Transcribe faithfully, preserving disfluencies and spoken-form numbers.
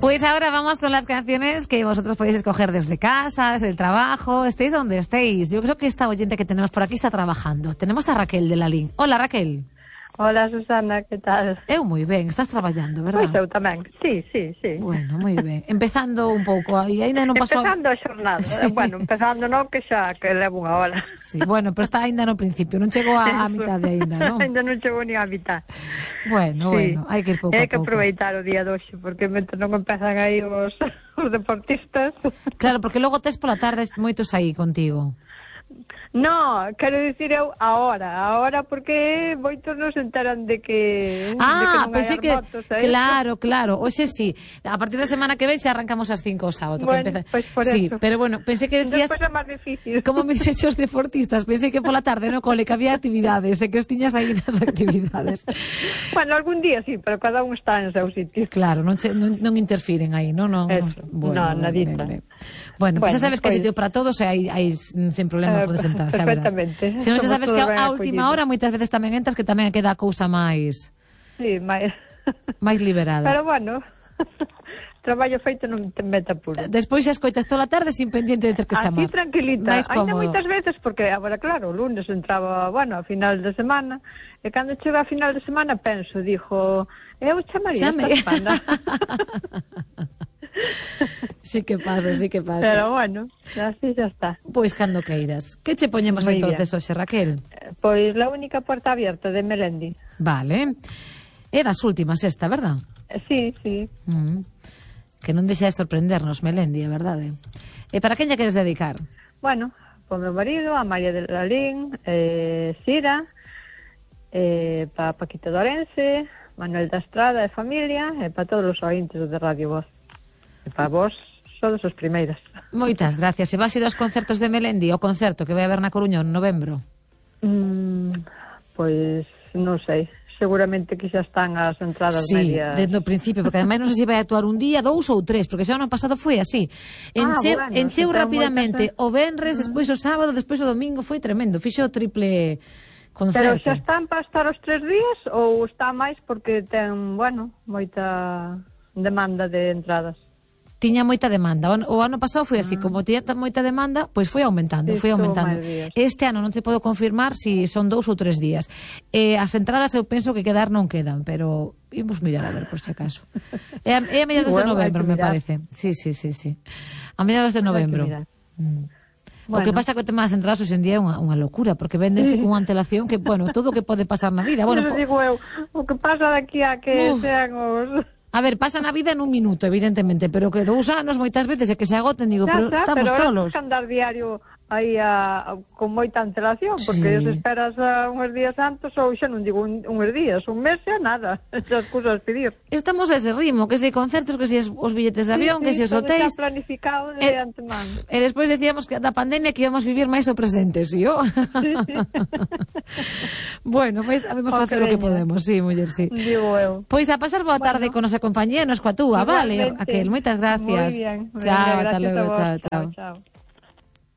Pues ahora vamos con las canciones que vosotros podéis escoger desde casa, desde el trabajo, estéis donde estéis. Yo creo que esta oyente que tenemos por aquí está trabajando. Tenemos a Raquel de la Lin. Hola, Raquel. Hola, Susana, que tal? Eu moi ben, estás traballando, verdad? Pois eu tamén, sí, sí, sí. Bueno, moi ben. Empezando un pouco, aí ainda non pasou... Empezando a xornada, sí. Bueno, empezando non, que xa, que levo unha hora. Sí, bueno, pero está ainda no principio, non chegou a, a mitad de ainda, non? Ainda non chegou ni a mitad. Bueno, sí. Bueno, hai que ir pouco a pouco. Hai que aproveitar o día doxe, porque mentre non empezan aí os, os deportistas... Claro, porque logo tes pola tarde moitos aí contigo. No, quero dicir eu ahora, ahora porque moitos non se enteran de que Ah, de que pensei que, motos, claro, claro, hoxe sí, a partir da semana que ven xa arrancamos as cinco o sábado. Bueno, que empeza... pues por sí, eso. pero bueno, pensei que decías despois é máis difícil. como me dixeches os deportistas, pensei que pola tarde no cole que había actividades e que os tiñas aí nas actividades. Bueno, algún día sí, pero cada un está en seu sitio. Claro, non, che, non, non interfiren aí, non? non, non bueno, no, nadita. Vale, vale. Bueno, pues bueno, xa sabes que pues... hai sitio para todos e hai, hai sin problema uh, podes entrar, xa verás. Perfectamente. Se non xa sabes que a última hora moitas veces tamén entras que tamén queda a cousa máis... Sí, máis... máis liberada. Pero bueno, traballo feito non te meta puro. Despois xa escoitas toda a tarde sin pendiente de ter que chamar. Así tranquilita. Ainda moitas veces, porque agora claro, o lunes entraba, bueno, a final de semana, e cando chega a final de semana penso, dixo, eu chamaría Chame. esta semana. Sí que pasa, sí que pasa. Pero bueno, así xa está. Pois cando queiras. Que che poñemos Muy entonces bien. hoxe, Raquel? Pois La única puerta abierta de Melendi. Vale. É das últimas esta, verdad? Sí, sí. Mm. Que non deixa de sorprendernos, Melendi, é verdade. E para quen lle queres dedicar? Bueno, por meu marido, a María de la Lin, eh, Sira, eh, para Paquito Dorense, Manuel da Estrada e familia, e para todos os ointes de Radio Voz. E para vos, sodes os primeiras. Moitas gracias. E vas ir aos concertos de Melendi, o concerto que vai haber na Coruña en novembro? Mm, pois non sei. Seguramente que xa están as entradas sí, medias. Sí, desde o principio, porque ademais non sei se vai actuar un día, dous ou tres, porque xa o ano pasado foi así. Encheu, ah, bueno, encheu rapidamente moitas... o venres, uh -huh. despois o sábado, despois o domingo, foi tremendo. Fixo o triple concerto. Pero xa están para estar os tres días ou está máis porque ten, bueno, moita demanda de entradas? Tiña moita demanda. O ano pasado foi así, como tiña moita demanda, pois foi aumentando, sí, foi aumentando. Este ano non te podo confirmar se si son dous ou tres días. Eh, as entradas eu penso que quedar non quedan, pero imos mirar a ver por si acaso. É a, é a mediados bueno, de novembro, me parece. Sí, sí, sí, sí. A mediados de novembro. Mm. Bueno. O que pasa que o tema das entradas hoxe en día é unha, unha locura, porque véndense sí. con antelación que, bueno, todo o que pode pasar na vida. Bueno, po... digo eu, o que pasa daqui a que Uf. sean os... A ver, pasa na vida en un minuto, evidentemente, pero que dous anos moitas veces é que se agoten, digo, xa, pero xa, estamos pero tolos. Pero é andar diario aí a, a, con moita antelación, porque sí. se esperas a unhos días antes, ou xa non digo un, unhos días, un mes xa nada, esas cousas pedir. Estamos a ese ritmo, que se concertos, que se os billetes de avión, sí, sí, que se os hotéis... todo planificado de e, antemano. E despois decíamos que da pandemia que íbamos vivir máis o presente, ¿sí? ¿O? Sí, sí. Bueno, pois pues, sabemos facer o que podemos, sí, muller, sí. Digo eu. Pois a pasar boa tarde bueno. con nosa compañía, nos coa túa, vale, Raquel, moitas gracias. Moi bien. Chao, ata logo, chao, chao. chao.